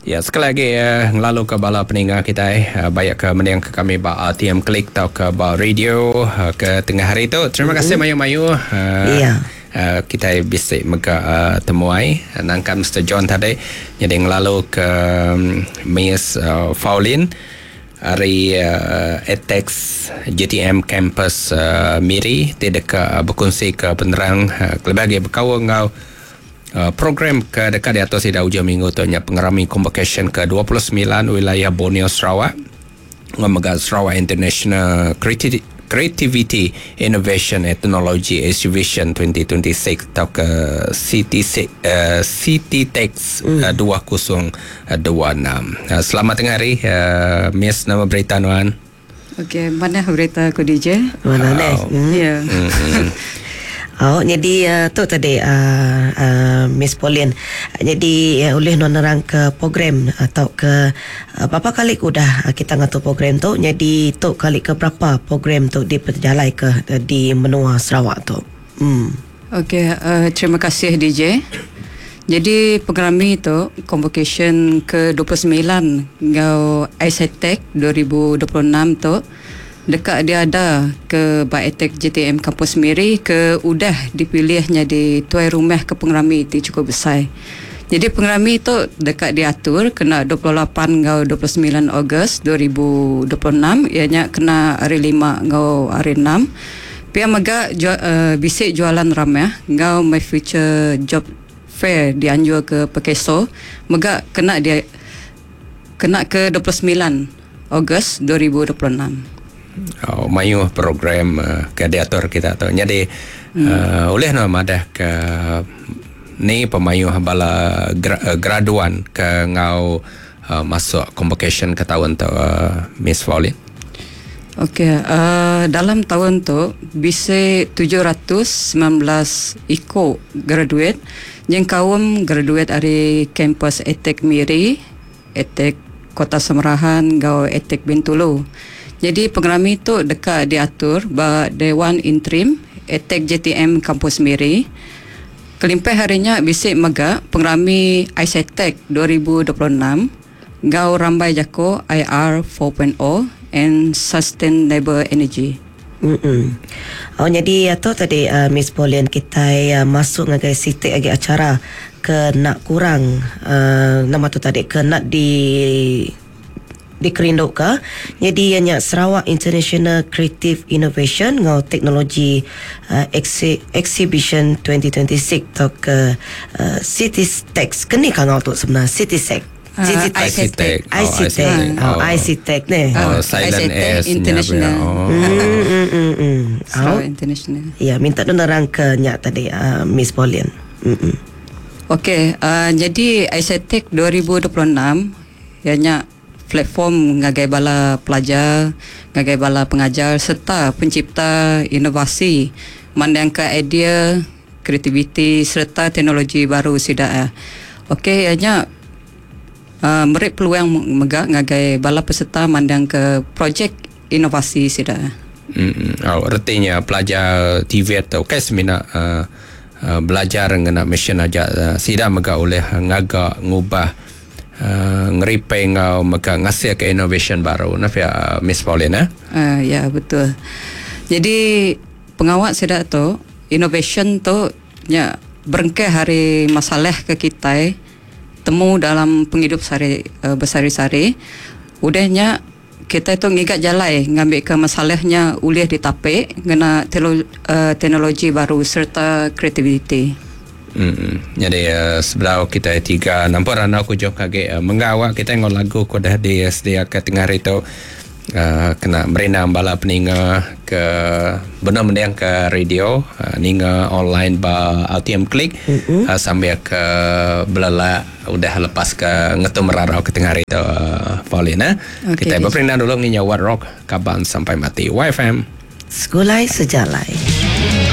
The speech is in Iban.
Ya, sekali agi ngelalu ke bala peninga kitai baik ke mending ke kami ba RTM Click tauka ba radio ke tengah hari tu. Terima kasih mayuh-mayuh. Ya. Kitai bisi mega temuai nangkan Mister John tadi nyadi ngelalu ke Miss Faulin ari ATEX JTM Campus Miri ti deka bekunsi ke penerang kelebih agi bekaul enggau Program ke deka diatur sida ujung minggu tu nya pengerami konvokesyen ke 29 Wilayah Borneo Sarawak enggau mega Sarawak International Creativity Innovation and Technology Exhibition 2026 tauka CTC CTTEX 2026. Selamat tengah hari Miss nama berita nuan? Okey, manah berita ku DJ. Manah neh. Ya. Oh, jadi uh, tu tadi uh, uh, Miss Pauline. Jadi uh, ulih nuan nerang ke program atau ke uh, berapa kali ke udah uh, kita ngatur program tu. Jadi tu kali ke berapa program tu dipejalai ke uh, di menua Sarawak tu. Hmm. Okey, uh, terima kasih DJ. Jadi pengerami tu convocation ke 29 enggau ICTEC 2026 tu deka diada ke ba ATEC JTM Kampus Miri ke udah dipilih nyadi tuai rumah ke pengerami ti chukup besai. Nyadi pengerami tu deka diatur kena 28 enggau 29 Ogos 2026 iya nya kena hari Lima enggau hari Enam. Pia mega bisi jualan ramah enggau My Future Job Fair dianjur ke Perkeso mega kena dia kena ke 29 Ogos 2026. Oh, mayuh program ke diatur kita tu. Nyadi hmm. uh, ulih no madah ke ni pemayuh bala gra, graduan ke ngau uh, masuk convocation ke taun tu uh, Miss Pauline? Okey, uh, dalam taun tu bisi 719 iku graduate nyengkaum graduate ari kampus ATEC Miri, ATEC Kota Samarahan enggau ATEC Bintulu. Nyadi pengerami tu deka diatur ba Dewan Interim ATEC JTM Kampus Miri. Kelimpah ari nya bisi mega pengerami ICTEC 2026 enggau rambai jaku IR 4.0 and Sustainable Energy. Mm. Oh nyadi tu tadi uh, Miss Pauline kitai uh, masuk ngagai siti agi acara ke nak kurang uh, nama tu tadi ke nak di dikerinduka nyadi iya nya Sarawak International Creative Innovation enggau Teknologi uh, Exhi- Exhibition 2026 tauka uh, CityTech keni kangau tu sebenar CitySec ICTEC. ICTEC. Oh, ICTEC ni. Oh, silent S International. Oh. Mm. Sarawak International. Ya, minta penerang ke nyak tadi uh, Miss Pauline. Mm. Okey, uh, jadi ICTEC 2026 ianya platform ngagai bala pelajar, ngagai bala pengajar serta pencipta inovasi mandangka idea, kreativiti serta teknologi baru sida. Okey, ianya uh, meri peluang mega ngagai bala peserta mandangka projek inovasi sida. Hmm. Oh, artinya pelajar TVET tu okay, semina uh, uh, belajar ngena mesin aja uh, sida mega oleh ngaga ngubah uh, ngeripai ngau mega ngasih ke innovation baru nah pia uh, Miss Pauline eh? Ya betul. Jadi pengawal sida tu innovation tu nya berengkah hari masalah ke kita temu dalam penghidup sehari uh, bersehari-sehari. Udahnya kita tu ngigat jalai ngambil ke masalahnya ulih ditapik ngena teknologi baru serta kreativiti. Hmm. Jadi uh, sebelah kita tiga nampak rana aku jauh kage uh, mengawak kita ngau lagu ko dah disediakan tengah hari tu uh, kena merindang bala peninga ke benar mendiang ke radio uh, ninga online ba RTM Click mm-hmm. uh, sambil ke belala udah lepas ke ngetum merarau ke tengah hari tu uh, Pauline eh. Okay, kita berperindang dulu nginya What Rock Kaban Sampai Mati YFM Sekulai Sejalai.